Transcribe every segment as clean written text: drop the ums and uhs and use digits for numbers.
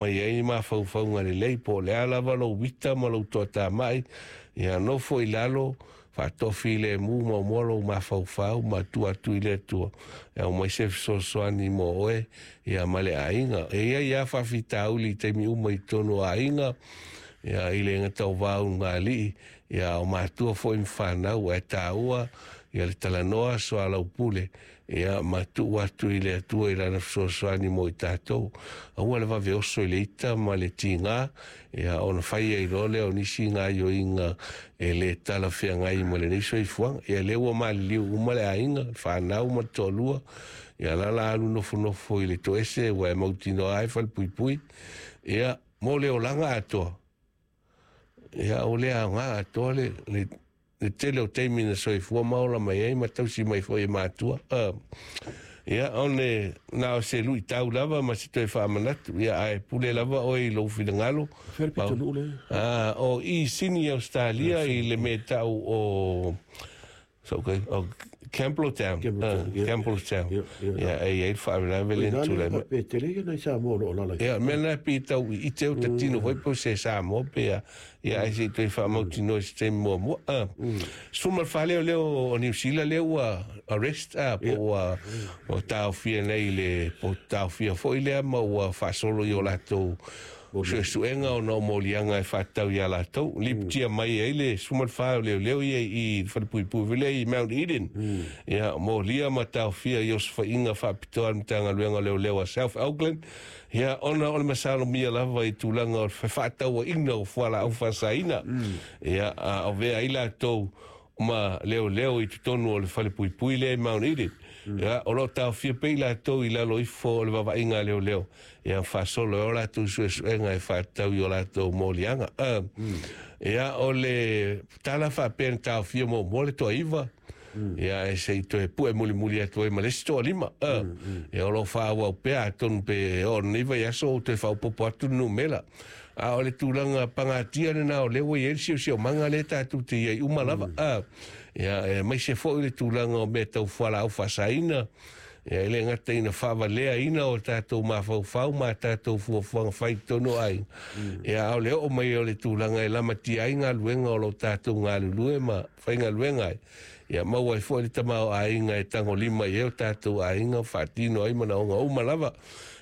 Mai ai mafaufauga lelei po o le a lava lou uita ma lou toatamai, ia nofo i lalo, faatoafilemu muamua lou mafaufau ma tuu atu i le Atua e aumai se fesoasoani mo oe ia ma le aiga. E i ai lava faafitauli i taimi uma i totonu o aiga, ia i le gata o va ulugalii, ia o matua foi ma fanau, ae taua ia le talanoa soalaupule ia ma tuu atu i le Atua i lana fesoasoani mo i tatou. Aua le vave oso i le ita ma le tiga, ia ona fai ai loa lea o nisi gaoioiga e le talafeagai ma lenei soifuaga. Ia lea ua maliliu uma le aiga, le fanau ma le toalua, ia la la alu nofonofo i le toese ua e mautinoa ai falepuipui. Ia, mo le olaga atoa, ia o le aoga atoa le tele o taimi na soifua ma ola mai ai ma tausi mai foi e matua. Ia, one na o se luitau lava ma se toe faamanatu, ia ae pule lava oe i lou finagalo. Fea le pitonuu le? O i Sini, Australia, i le mea tau o so, okay, o Campbelltown. Campbelltown, yeah. Campbelltown. Yeah. Ia, e i ai le faalavelave le Ina tulai le mai. Pe tele ia nai Samoa o lo o alaala i. Ia, mea na pei tau i ite o tatino foi po o se Samoa pe a, ia ae se i toe faamautinoa i se taimi muamua. 14 leo leo o Niu Sila lea ua arrest, po ua taofia nei le, po taofia foi lea ma ua faasolo i o latou suesuega ona o moliaga e faatatau ia latou. Lipotia mai ai le 14 o leoleo ia i falepuipui foi lea i Mount Eden. Ia, molia ma taofia i osofaiga faapitoa a le Matagaluega o Leoleo a South Auckland. Ia, ona o le masalomia lava i tulaga o le fefaatauaiga o fualaau faasaina. Ia, a o vea ai latou ma leoleo i totonu o le falepuipui lea i Mount Eden. Ia, o lo o taofia pea i latou i lalo ifo o le vaavaaia a leoleo. Ia, faasolo ai o latou suesuega e faatatau i o latou moliaga. Ia, o le tala faapea na taofia muamua le toaiva, ia, e se i toe pue mulimuli atu ai ma le isi toalima. Ia, o lo o faaauau pea atonu pe oo lenei vaiaso ou toe faaopoopo atu le numera. A o le tulaga pagatia lena o lea ua i ai le siosiomaga lea tatou te i ai uma lava. Ia, aemaise foi le tulaga o mea tau fualaau faasaina. Ia, e le gata ina faavaleaina o tatou mafaufau ma tatou fuafuaga fai i totonu o aiga. Ia, a o le oo mai o le tulaga e lamatia ai galuega o lo o tatou galulue ma faigaluega ai. Ia, maua ai foi le tamaoaiga e tagolima i ai o tatou aiga faatino ai manaoga uma lava.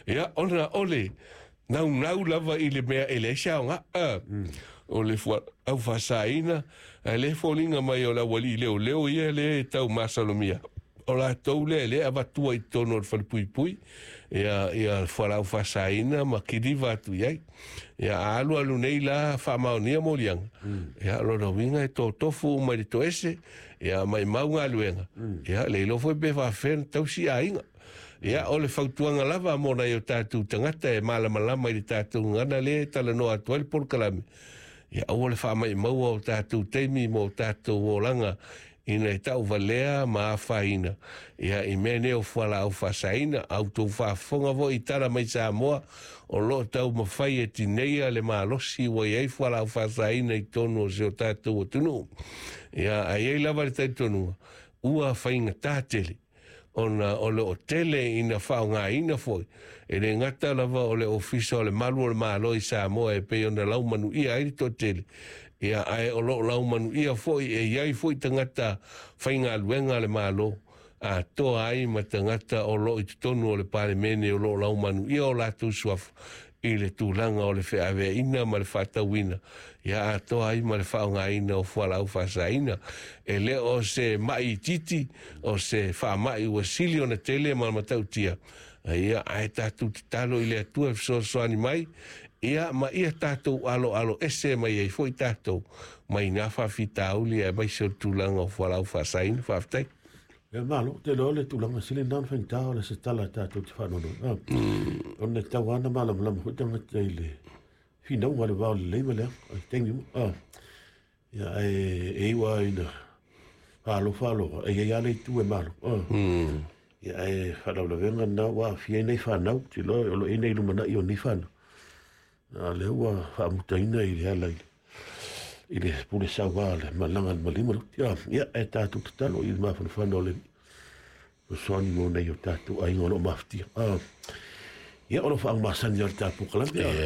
Ia, ona o le naunau lava i le mea e leai se aoga. O le fualaau faasaina, ae le foliga mai o le aualii leoleo ia le tau masalomia. O latou lea e le avatua i totonu o le falepuipui, ia, ia fualaau faasaina ma kiliva atu i ai. Ia, a alu alu nei la faamaonia moliaga, ia, lona uiga e totofu uma i le toese, ia, maimau galuega, ia, le iloa foi pe faafefea ona tausi aiga. Ia, o le fautuaga lava mo nai o tatou tagata e malamalama i le tatou gagana lea e talanoa atu ai le polokalame, ia, aua le faamaimaua o tatou taimi mo tatou olaga ina e tauvalea ma afaina ia i mea nei o fualaau faasaina. A outou faafofoga foi i tala mai Samoa o lo o taumafai e tineia le malosi ua i ai fualaau faasaina i totonu o si o tatou atunuu. Ia, ae i ai lava le talitonuga ua faigata tele ona o lo o tele ina faaaogaina foi e le gata lava o le Ofisa o le Malu o le Malo i Samoa e pei ona laumanuia ai le toatele, ia, ae o lo o laumanuia foi e i ai foi tagata faigaluega a le Malo atoa ai ma tagata o lo o i totonu o le Palemene o lo o laumanuia o latou suafa i le tulaga o le feaveaiina ma le faatauina, ia atoa ai ma le faaaogaina o fualaau faasaina. E le o se mai itiiti, o se faamai ua sili ona tele ma matautia. Ia, ae tatou tatalo i le Atua e fesoasoani mai, ia, ma ia tatou aloalo ese mai ai foi tatou mai nā faafitauli aemaise o le tulaga o fualaau faasaina. Faafetai. Ia malo, te loa le tulaga sili na ona faigata o le se tala tatou te faanoanoa. Ona e tatau lava ona malamalama foi tagata i le finauga o le va o le lelei ma le leaga i taimi uma. Ia ae e iu lava ina faalofa alofa, e i ai lava le itu e malo. Ia ae faalavelavega lena ua aafia ai nei fanau, ou te iloa o lo o i ai nei lumanai o nei fanau. A o lea ua faamutaina i le ala i le pule saua a le malaga a le maliu ma le uti. Ia, ae tatou tatalo i le mafanafana o le fesoasoani mo nai o tatou aiga o lo o mafatia. Ia, o lo o faagasani lava le tatou polokalame.